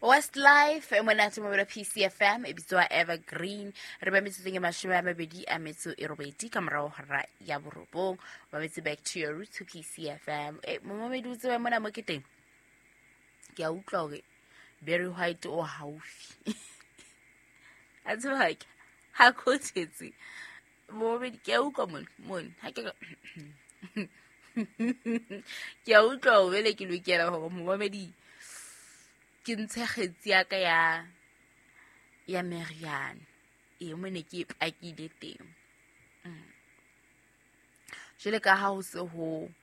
Westlife e monate mobelo PCFM e bitswa Evergreen. Re ba metsotsong e 28 ka morao hora ya 9. Ba metse back to your roots to PCFM. E momamedi o tsebe mona mo ke teng. Ke a utlwa hore Barry White o haufi. A tseba ke ha ko thetse. Momamedi ke a utlwa mone mone ha ke ke a utlwa hore bele ke lokela hore momamedi ke ntshe kgetsi ya ka ya meriana e mo ne ke e pakile teng. Jwale ka ha ho se ho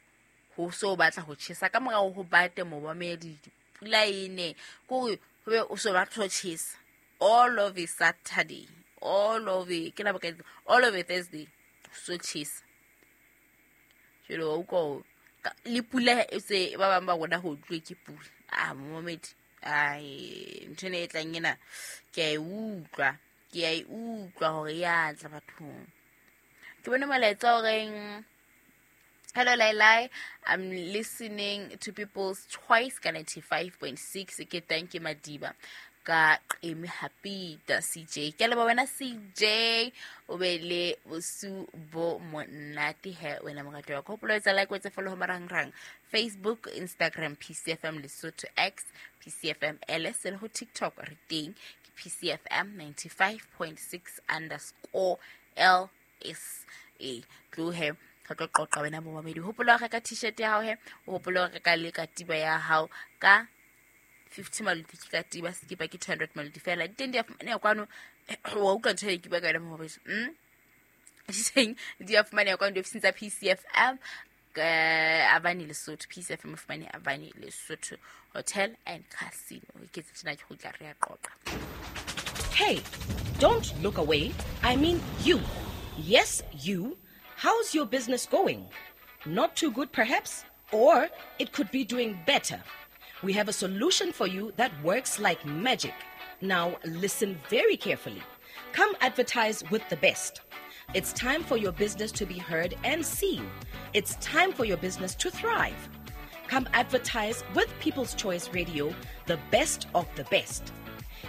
so batla ho tjhesa ka morao ho bate momamedi pula e ne kore ho be o so batla ho tjhesa all of a Saturday, all of a ke la bokae, all of a Thursday so tjhesa. Jwale wa utlwa le pula e se ba bang ba rona ho utlwe ke pula. Ah momamedi ai ntho ena e tlang ena ke a e utlwa, ke a e utlwa hore ya tla bathong. Ke bone molaetsa o reng hello Lailai, I'm listening to People's Choice ka 95.6. Ke thank you Madiba ka Qeme Hapita CJ. Ke leboha wena CJ, o be le bosiu bo monate he wena morati wa ka. Hopola ho etsa like, o etse follow ho marangrang Facebook, Instagram PCFM Lesotho, X PCFM LS le ho TikTok re teng ke PCFM 95.6 underscore LS. E tlohe re tlo qoqa wena momamedi. Hopola ho reka t-shirt ya hao he, o hopole ho reka le katiba ya hao ka 50 maluti ke katiba, sekipa ke 200 maluti fela. Di teng di a fumaneha kwano, wa utlwa ntho e ke bua ka yona momamedi. Di teng di a fumaneha kwano diofising tsa PCFM Avani Lesotho. PCFM e fumane Avani Lesotho Hotel and Casino. Ke tse tjena ke kgutla re a qoqa. Hey, don't look away. I mean you. Yes, you. How's your business going? Not too good, perhaps? Or it could be doing better. We have a solution for you that works like magic. Now, listen very carefully. Come advertise with the best. It's time for your business to be heard and seen. It's time for your business to thrive. Come advertise with People's Choice Radio, the best of the best.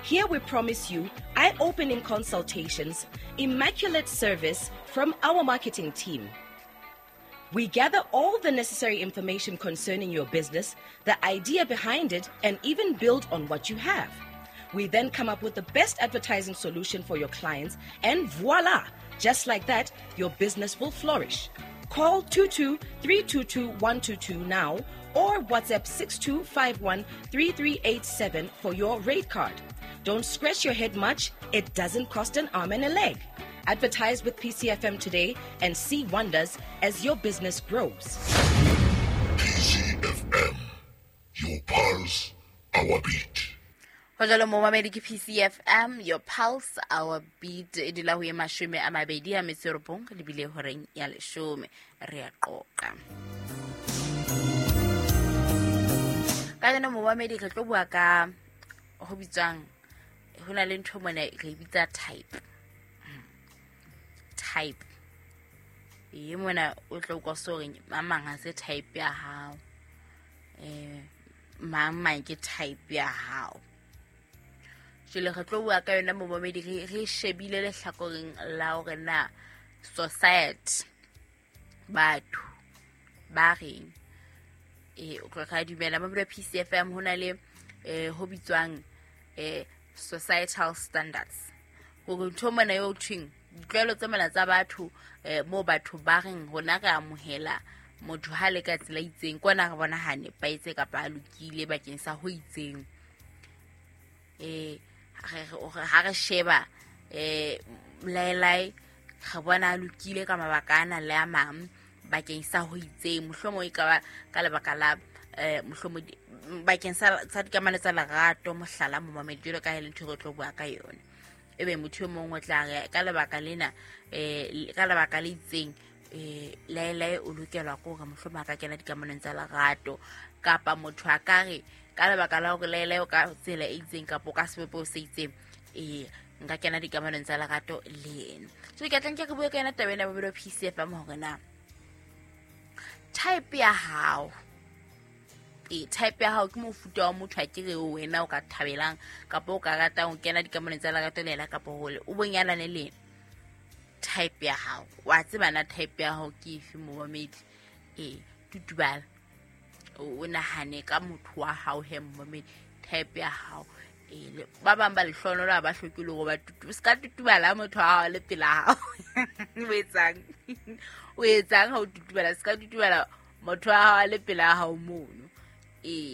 Here we promise you eye-opening consultations, immaculate service from our marketing team. We gather all the necessary information concerning your business, the idea behind it, and even build on what you have. We then come up with the best advertising solution for your clients, and voila! Just like that, your business will flourish. Call 22-322-122 now or WhatsApp 6251-3387 for your rate card. Don't scratch your head much. It doesn't cost an arm and a leg. Advertise with PCFM today and see wonders as your business grows. PCFM, your pulse, our beat. Ho jwalo momamedi ke PCFM, your pulse, our beat. E dula ho ye 29 lebile horeng ya 10. Re a qoqa. Ka jeno momamedi re tlo bua ka ho bitswang ho na le ntho mona re e bitsa type. Type. E mona o tlo utlwa so reng mang ha se type ya hao. Mang ke type ya hao. Jwale re tlo bua ka yona momamedi re shebile lehlakoreng la hore na society batho ba reng. O tlo ka dumela mabelo PCFM ho na le ho bitswang societal standards. Hore ntho mona eo thweng ditlwaelo tse mona tsa batho moo batho ba reng rona re amohela motho ha le ka tsela itseng kwana re bona ha nepahetse kapa a lokile bakeng sa ho itseng. Ha re sheba Lailai re bona a lokile ka mabaka ana le a mang bakeng sa ho itseng, mohlomong e ka ba ka lebaka la mohlomong bakeng sa dikamano tsa lerato, mohlala momamedi jwalo ka ha e le ntho e re tlo bua ka yona. Ebe motho e mong o tla re ka lebaka lena ka lebaka le itseng Lailai o lokelwa ke hore mohlomong a ka kena dikamanong tsa lerato, kapa motho a ka re ka lebaka la hore Lailai o ka tsela e itseng kapa o ka sebopeho se itseng nka kena dikamanong tsa lerato le yena. So ke tla nke re bue ka yona taba ena bobelo PCFM hore na type ya hao Type ya hao ke mofuta wa motho a kere wena o ka thabelang kapa o ka ratang ho kena dikamanong tsa lerato le yena kapa hole o bonyalane le yena. Type ya hao wa tseba na type ya hao ke efe momamedi? Tutubala o nahane ka motho wa hao he momamedi, type ya hao. Ba bang ba lehlohonolo ha ba hloke le hore ba se ka tutubala motho wa hao le pela hao. O etsang? O etsang ha o tutubala? Se ka tutubala motho wa hao le pela hao mono.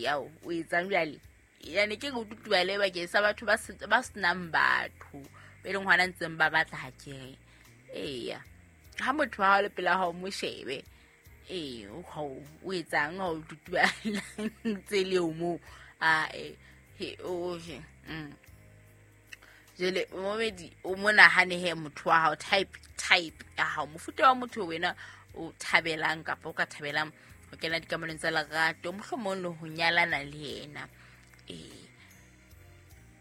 Ao o etsang jwale? Yani ke go tutubale bakeng sa batho ba senang batho be leng hona ntseng ba batla ha kere. Eya, ha motho wa hao le pela hao mo shebe. O etsang ha o tutubala ntse le o moo? Jwale momedi o mo nahane he motho wa hao, type ya hao, mofuta wa motho wena o thabelang kapa o ka thabelang ho kena dikamanong tsa lerato, mohlomong le ho nyalana le yena.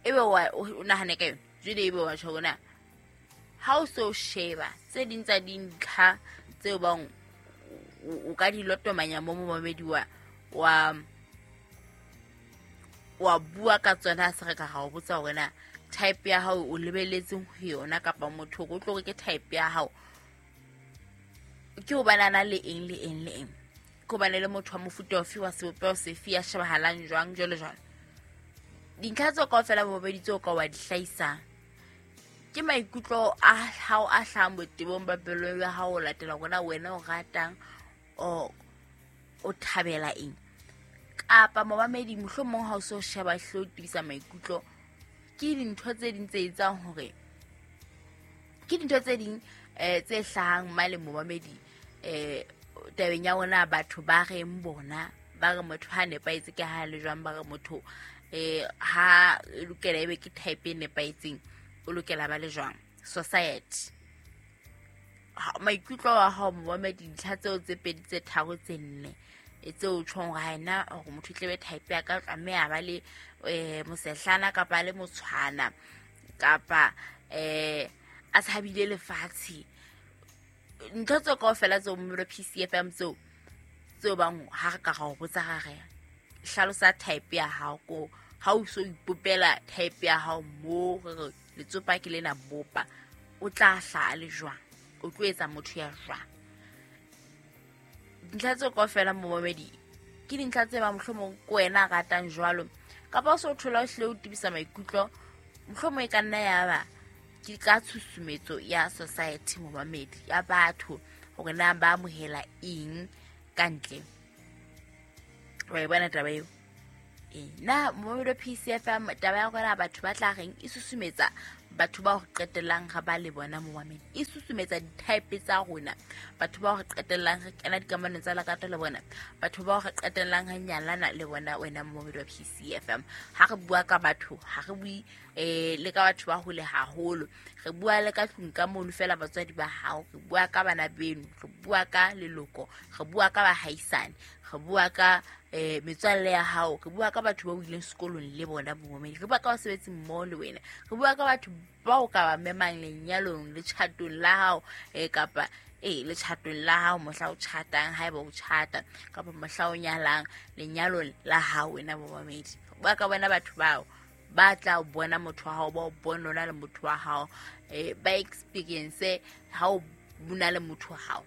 Ebe o nahane ka yona. Jwale ebe wa tjho hore na ha o so sheba tse ding tsa dintlha tseo bang o ka di lotomanya mo momedi wa bua ka tsona, se re ka ga o botsa hore na type ya hao o lebeletseng ho yona kapa motho o tlo re ke type ya hao ke hobane a na le eng le eng le eng, ke hobane le motho wa mofuta ofe wa sebopeho sefe ya shebahalang jwang jwalo jwalo. Dintlha tseo kaofela bobedi tseo ka wa di hlahisang ke maikutlo a hao a hlahang botebong ba pelo ya hao ho latela hore na wena o ratang o thabela eng. Kapa momamedi mohlomong ha o so sheba hle o tebisa maikutlo, ke dintho tse ding tse etsang hore ke dintho tse ding tse hlahang male momamedi tabeng ya rona batho ba reng bona ba re motho ha nepahetse ke ha le jwang, ba re motho ha lokela ebe ke type e nepahetseng o lokela ba le jwang. Society maikutlo a hao momamedi, dintlha tseo tse pedi tse tharo tse nne tseo tjhong hore ha ena hore motho tlebe type ya ka tlameha ba le mosehlana kapa le motshwana kapa a tshabile lefatshe. Ntho tseo kaofela tseo mmelo PCFM tseo bang ha re ka ra o botsa ra re hlalosa type ya hao ko ha o so ipopela type ya hao mo re letsopa ke lena bopa, o tla hla le jwang, o tlo etsa motho ya jwang. Dintlha tseo kaofela momamedi ke dintlha tse ba mohlomong ke wena a ratang jwalo kapa o so thola o hlile o tebisa maikutlo, mohlomong e ka nna ya ba ke ka tshusumetso ya society momamedi ya batho hore na ba amohela eng ka ntle. Wa e bona taba eo? Na momamedi wa PCFM taba ya rona batho ba tla reng e susumetsa batho bao re qetellang re ba le bona momamedi, e susumetsa di-type tsa rona, batho bao re qetellang re kena dikamanong tsa lerato le bona, batho bao re qetellang re nyalana le bona. Wena momamedi wa PCFM, ha re bua ka batho ha re bue le ka batho ba hole haholo, re bua le ka tlung ka mono fela batswadi ba hao, re bua ka bana beno, re bua ka leloko, re bua ka bahaisane, re bua ka metswalle ya hao, re bua ka batho ba o ileng sekolong le bona momamedi, re bua ka basebetsi mmoho le wena, re bua ka batho bao ka ba memang lenyalong le tjhatong la hao kapa le tjhatong la hao mohla o tjhatang haeba o tjhata kapa mohla o nyalang lenyalong la hao wena momamedi. Re bua ka bona batho bao ba tla bona motho wa hao, ba o bona o na le motho wa hao, ba experience ha o na le motho wa hao.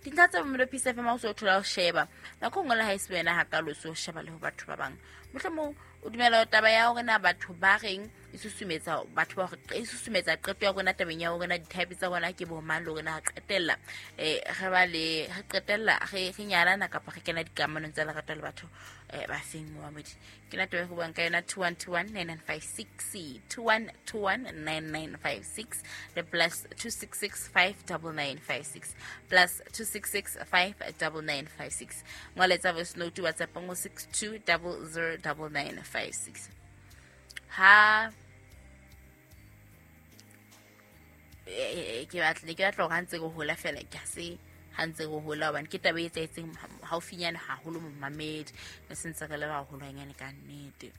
Dintlha tsa Mmelo PCFM ha o so thola ho sheba nako nngwe le ha e se wena hakalo o so sheba le ho batho ba bang, mohlomong o dumela taba ya hore na batho ba reng e susumetsa batho ba hore e susumetsa qeto ya rona tabeng ya hore na di-type tsa rona ke bo mang le hore na re qetella re ba le re qetella re nyalana kapa re kena dikamanong tsa lerato le batho ba feng momamedi. Ke na taba e re buang ka yona 21219956 21219956 le plus 266 59956 plus 266 59956. Ngoletsa voice note WhatsApp ngo 62009956. Ha ke batla hore ha ntse re hola fela ke se ha ntse re hola hobane ke taba e etsahetseng haufinyane haholo momamedi, re sentse re le baholwanyane ka nnete.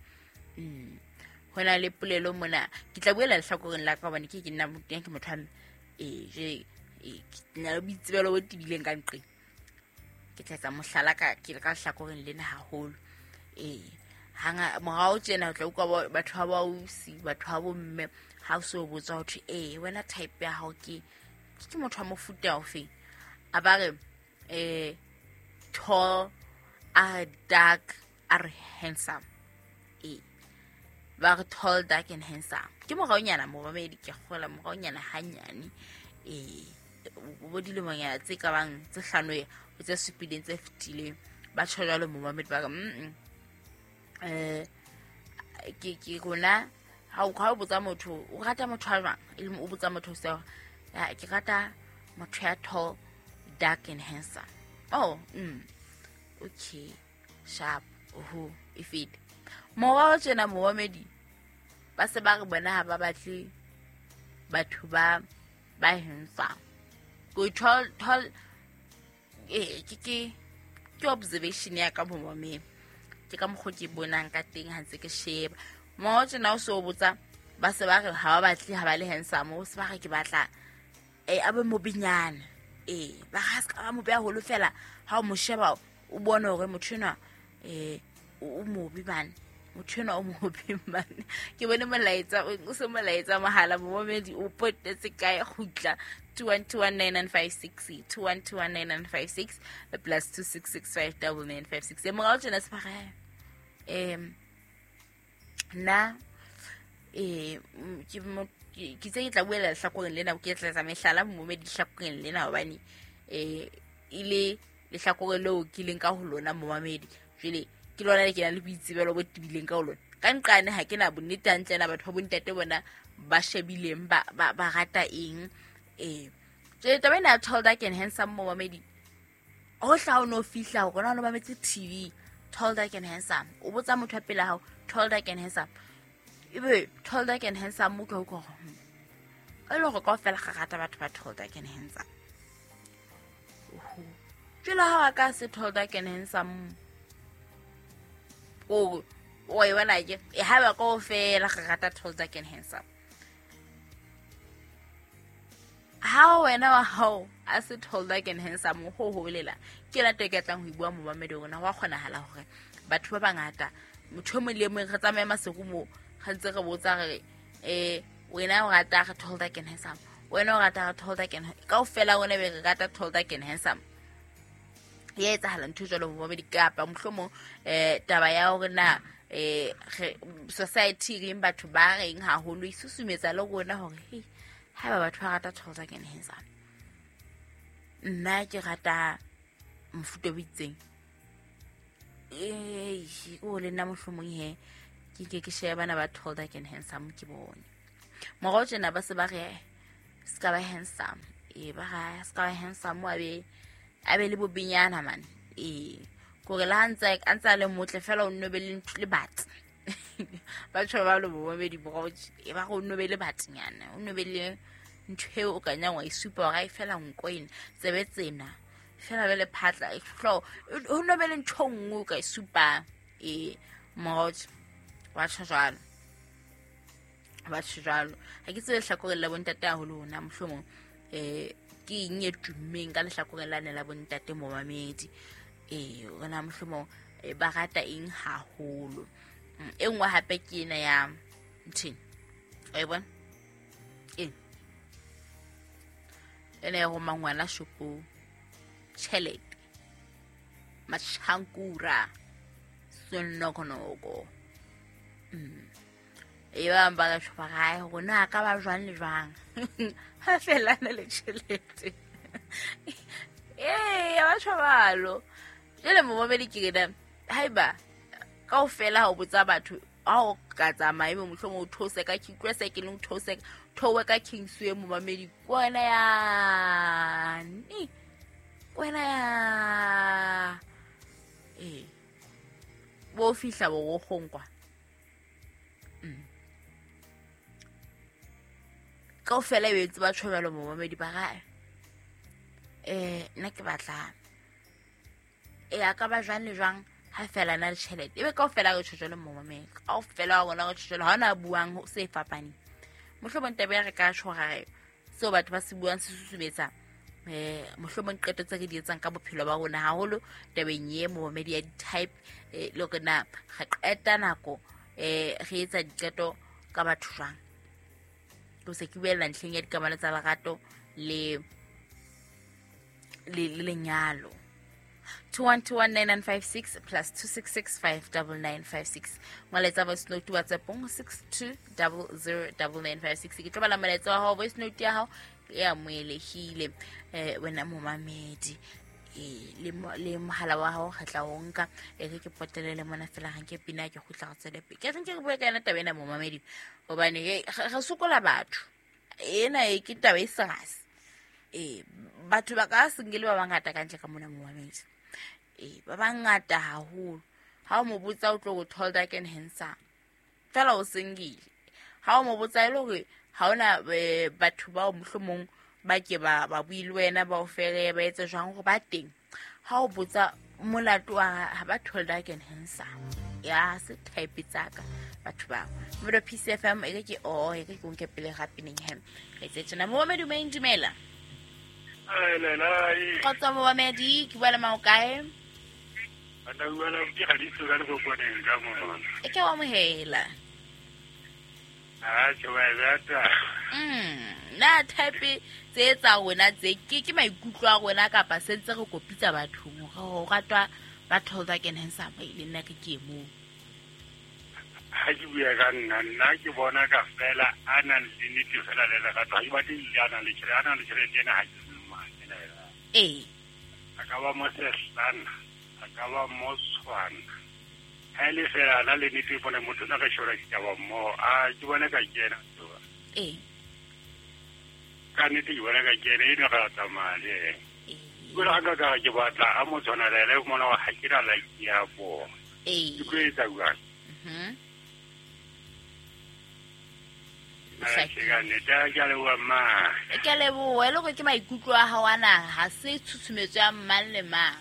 Ho na le polelo mona ke tla buela lehlakoreng la ka hobane ke nna ke motho wa ke na le boitsebelo bo tebileng ka nqeng. Ke tla etsa mohlala ka ke le ka lehlakoreng lena haholo. Ee, hanga morao tjena o tla utlwa batho ba bausi, batho ba bomme, ha o so botsa ho thwe ee wena type ya hao ke motho wa mofuta ofe, a ba re tall, a dark, a re handsome. Ee, ba re tall, dark and handsome. Ke moraonyana momamedi, ke kgola moraonyana hanyane. Ee, bo dilemonyana tse ka bang tse hlano ho tse supileng tse fetileng, ba tjho jwalo momamedi, ba re ke rona ha o botsa motho o rata motho a jwang, e leng o botsa motho seo, ya ke rata motho ya tall, dark and handsome. Oh, okay, sharp, oho, e fete. Morao tjena momamedi ba se ba re bona ha ba batle batho ba handsome. Ko tall tall, ke observation ya ka momamedi, ke ka mokgwa ke bonang ka teng ha ntse ke sheba. Morao tjena o so botsa ba se ba re ha ba batle ha ba le handsome, o se ba re ke batla a be mobinyana. Ba ga se ka ba mobe haholo fela, ha o mo sheba o bone hore motho enwa o mobe bane, motho enwa o mobe bane. Ke bone molaetsa o se molaetsa mohala momamedi o potetse kae, kgutla 21219956, 21219956 plus 26659956. Morao tjena se ba re nna ke tse ke tla buela lehlakoreng lena, ke tla etsa mehlala momamedi lehlakoreng lena, hobane e le lehlakore leo ke leng ka ho lona momamedi. Jwale ke lona le ke nang le boitsebelo bo tebileng ka ho lona. Ka nqane ha ke na bonnete hantle na batho ba bontate bona ba shebileng ba rata eng. Jwale taba ena ya tall, dark and handsome momamedi, ho hla o no fihla hore na o mametse TV, tall, dark and handsome, o botsa motho wa pele hao tall, dark and handsome, ebe tall, dark and handsome mo ke ho gore e le hore kaofela ga rata batho ba tall, dark and handsome. Jwale ha wa ka se tall, dark and handsome, o e bona ke ha ba kaofela ga rata tall, dark and handsome. Ha wena wa hao a se tall, dark and handsome, ho holela ke yona taba e ke tlang ho e bua momamedi rona. Wa kgonahala hore batho ba bangata, motho e mong le e mong re tsamaye maseru moo, re ntse re botsa re wena o rata re tall, dark and handsome, wena o rata re tall, dark and kaofela rona be re rata tall, dark and handsome. Ya etsahala ntho jwalo momamedi, kapa mohlomong taba ya hore na society reng batho ba reng haholo e susumetsa le rona hore hey, haeba batho ba rata tall, dark and handsome, nna ke rata mofuta o itseng, o le nna mohlomong he ke ke shebe bana ba tall, dark and handsome ke bone. Morao tjena ba se ba re se ka ba handsome, ba ra se ka ba handsome, a be le bobinyana man. Kore le ha ntse a le motle fela o nno be le ntho le batsi. Ba tjho ba le bomamedi morao ba re o nno be le batsinyana, o nno be le ntho eo o ka nyang wa e supa hore ha e fela nko ena tsebe tsena fela be le phatla hlo o nno be le ntho nngwe o ka e supang. Morao ba tjho jwalo, ba tjho jwalo. Ha ke tsebe lehlakoreng la bontate haholo hona mohlomong ke eng e tummeng ka lehlakoreng lane la bontate momamedi, rona mohlomong ba rata eng haholo. E nngwe hape ke ena ya ntheng, wa e bona ena ya roma ngwana shopong, tjhelete, matjhankura, senokonoko. E bang ba ka tjho ba re rona a ka ba jwang le jwang ha fela na le tjhelete. Ba tjho balo. Jwale momamedi ke re haeba kaofela ha o botsa batho ha o ka tsamaya ebe mohlomong o theose ka King, se ke leng theose theowe ka Kingsway momamedi, kwena yane, kwena ya bo fihla borokgong kwa. Kaofela e etse ba tjho jwalo momamedi, ba ra nna ke batla a ka ba jwang le jwang ha fela na le tjhelete, ebe kaofela re tjho jwalo momamedi, kaofela wa rona re tjho jwalo, ha ona buang ho se fapaneng. Mohlomong taba ya re ka tjho hore seo batho ba se buang se susumetsa Mohlomong qeto tse re di etsang ka bophelo ba rona haholo tabeng ye momamedi ya di-type, le hore na re qeta nako re etsa diqeto ka batho jwang. Ke se ke buella ntlheng ya dikamano tsa lerato le lenyalo. 21219956 plus 26659956. Molaetsa voice note WhatsApp 62009956. Ke tlo bala molaetsa wa hao, voice note ya hao e amohelehile, wena momamedi. Le mohala wa hao re tla o nka, e re ke potelele mona fela ga nke pina ke kgutla re tswele pele. Ke re nke re bue ka yona taba ena momamedi, hobane re sokola batho. Ena e ke taba e serious. Batho ba ka sengele ba bangata ka ntle ka mona momamedi. Ba bangata haholo. Ha o mo botsa o tlo go tall, dark and handsome. Fela o sengile. Ha o mo botsa e le hore ha ona batho bao mohlomong ba ke ba bue le wena, ba o fere, ba etse jwang hore ba teng. Ha o botsa molato wa ha ba tall, dark and handsome. Ya se type tsaka batho bao. Mmodo PCFM e ke o e ke nke pele ga Pinningham. Re tse tsena momamedi o dumela. Kgotsa momamedi ke bua le mang o kae? E ke wa amohela. Na type tse tsa rona tse ke maikutlo a rona kapa se ntse re kopitsa bathong ho ratwa ba tall, dark and handsome e le nna ke ke mo. Ha ke bua ka nna ke bona ka fela a nang le nnete fela le lerato. Ha ke batle a nang le tjhelete, a nang le tjhelete ena ha ke ena. A ka ba mosehlana, a ka ba motshwana. Ha e le fela a na le nnete, bona motho na ka shora ditaba mmoho. A ke bona ka kena. Ka nnete ke bona ka kena, eno re a tsamaya le yena. Jwale ha nka ka re ke batla a mo tshwana le yena, mona wa ha ke na like ya bona. Ke tlo etsa jwang? Ke leboha e le hore ke maikutlo a hao ana, ha se tshusumetso ya mang le mang.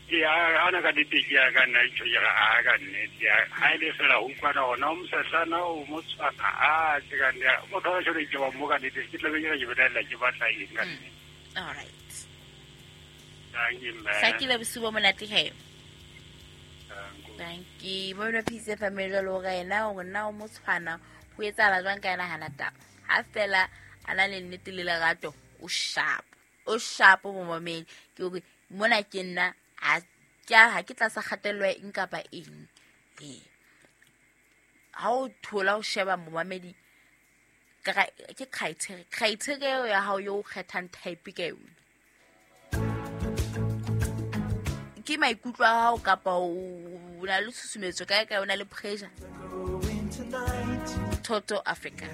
Ke ana ka nnete ke ya ka nna ntho ke re a ka nnete. Ha e le fela ho utlwana hona o mosehlana o motshwana, a ke ka nnete. Motho wa tjhone ke ba mo ka nnete, ke tla be ke re ke belaela ke batla eng ka nnete. All right. Thank you, ma'am. Hlakile bosiu bo monate he. Thank you. Mona PCFM jwalo ka yena hore na o motshwana ho etsahala jwang ka yena hana taba. Ha fela a na le nnete le lerato, o sharp. O sharp momamedi. Ke hore mona ke nna ha ke tlasa kgatello ya eng kapa eng. Ha o thola o sheba momamedi ke criteria ya hao yo kgethang type ka yona. Ke maikutlo a hao kapa o na le tshusumetso kae kae, o na le pressure. Toto Africa.